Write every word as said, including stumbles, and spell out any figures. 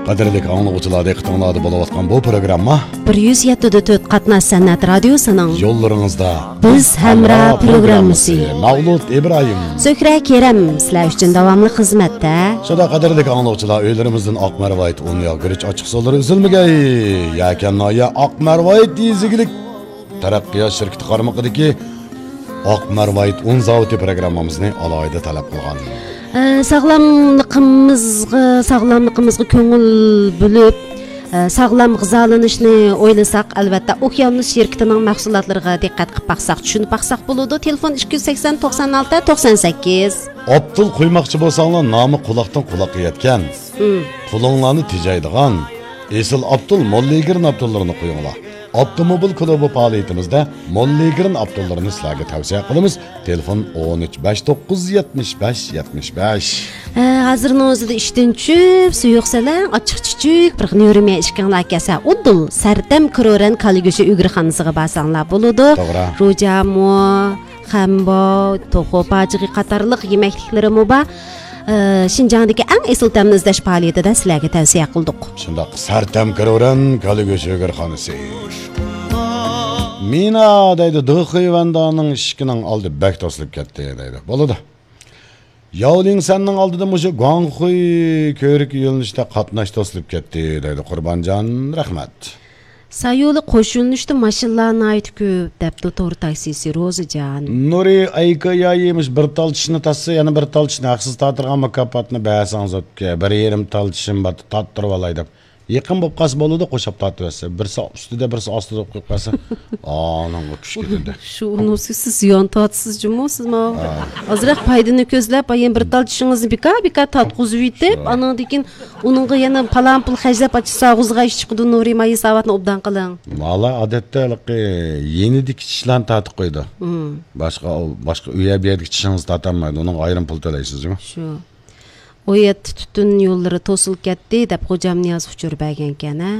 قەدىرلىك ئاڭلىغۇچىلار، دىققىتىڭلاردا بولۇۋاتقان بۇ پروگرامما بىر يۈز يەتتە دە تۆت قاتناش سەنئەت رادىيوسىنىڭ يوللىرىڭىزدا بىز ھەمراھ پروگراممىسى. مەۋلۇت ئىبراھىم، سۆھرە كېرەم سىلەر ئۈچۈن داۋاملىق خىزمەتتە. شۇنداق، قەدىرلىك ئاڭلىغۇچىلار، ئۆيلىرىمىزدىن ئاق مەرۋايىت ئۇن ياغ گۈرۈچ ئاچچىق سۇلىرى ئۈزۈلمىگەي. يەكەن ناھىيە ئاق مەرۋايىت يېزا ئىگىلىك تەرەققىيات شىركىتى قارمىقىدىكى ئاق مەرۋايىت ئۇن زاۋۇتى پروگراممىمىزنى ئالاھىدە تەلەپ قىلغان. ئە، ساغلاملىقىمىزغا، ساغلاملىقىمىزغا كۆڭۈل بۆلۈپ، ئە، ساغلام غىزالىنىشنى ئويلىساق، ئەلۋەتتە، ئوكيانۇس شىركىتىنىڭ مەھسۇلاتلىرىغا دىققەت قىلىپ باقساق، چۈشىنىپ باقساق بولىدۇ. تېلېفون ئىككى يۈز سەكسەن، توقسان ئالتە، توقسان سەككىز. ئاپتول قۇيماقچى بولساڭلار، نامى قۇلاقتىن قۇلاققا يەتكەن، مم، قولۇڭلارنى تېجەيدىغان ئېسىل ئاپتول موللىگرىن ئاپتوللىرىنى قۇيۇڭلار. ئاپتوموبىل كۇلۇبى پائالىيىتىمىزدە موللىگرىن ئاپتوللىرىنى سىلەرگە تەۋسىيە قىلىمىز. تېلېفون: ئون ئۈچ، بەش توققۇز يەتمىش بەش، يەتمىش بەش. ھە، ھازىرنىڭ ئۆزىدە ئىشتىن چۈشۈپ، سۇ يوق سەلەڭ، ئاچچىق چۈچۈك، بىر نۆرىمە ئىشكىڭلار كەلسە، ئۇدۇل سەرتەم كرورەن كالا گۆشى ئۆگرىخانىسىغا بارساڭلار بولىدۇ. توغرا. روجامۇ، خەمباۋ، توخۇ پاجىقى قاتارلىق يېمەكلىكلىرىمۇ بار. ئە، شىنجاڭدىكى ئەڭ ئېسىل تەمنى ئىزدەش پائالىيىتىدە سىلەرگە تەۋسىيە قىلدۇق. شۇنداق، سەرتەم كرورەن كالا گۆشى ئۆگرىخانىسى. مىنا دەيدۇ، دېخۇيۋەندانىڭ ئىشىكىنىڭ ئالدى بەك توسۇلۇپ كەتتى دەيدۇ. بولىدۇ. ياۋلىڭسەننىڭ ئالدىدا مۇشۇ گۇاڭخۇي كۆۋرۈكى يۆنىلىشىدە قاتناش توسۇلۇپ كەتتى دەيدۇ قۇربانجان. رەھمەت. سايولى قوش يۆنىلىشتە ماشىنىلار ناھايىتى كۆپ، دەپتۇ تور تاكسىسى روزىجان. نۇرى ئەيكايايى مۇشۇ بىر تال چىشىنى تارتسا، يەنە بىر تال چىشىنى ھەقسىز تارتىدىغان مۇكاپاتنى بەرسەڭىز ئوكەي. بىر يېرىم تال چىشىم بار، تارتتۇرۇۋالاي دەپ. يېقىن بولۇپ قالسا بولىدۇ، قوشاپ تارتىۋەتسە. بىرسى ئۈستىدە، بىرسى ئاستىدا بولۇپ قالسا، ئانىڭغا كۈچ كېتىدۇ. شۇ ئۇنىسى سىز زىيان تارتىسىز جۇمۇ، سىز ماۋۇ ھە. ئازراق پايدىنى كۆزلەپ، ئايەن بىر تال چىشىڭىزنى بىكار، بىكار تارتقۇزۇۋېتىپ، شۇ. ئانىڭدىن كېيىن ئۇنىڭغا يەنە پالان پۇل خەجلەپ، ئاچىسا ئاغزىغا ئىش چىقىدۇ، نۇرى مايساۋاتنى ئوبدان قىلىڭ. ۋالا ئادەتتە ھېلىقى يېنىدىكى چىشلارنى تارتىپ قويىدۇ. مم. باشقا، باشقا ئۇ يەر بۇ يەردىكى چىشىڭىزنى تارتالمايدۇ، ئۇنىڭغا ئايرىم پۇل تۆلەيسىز جۇمۇ. شۇ. ئۇ يەردە تۈتۈن يوللىرى توسۇلۇپ كەتتى دەپ خوجام نىياز ئۇچۇر بەرگەنكەن، ھە؟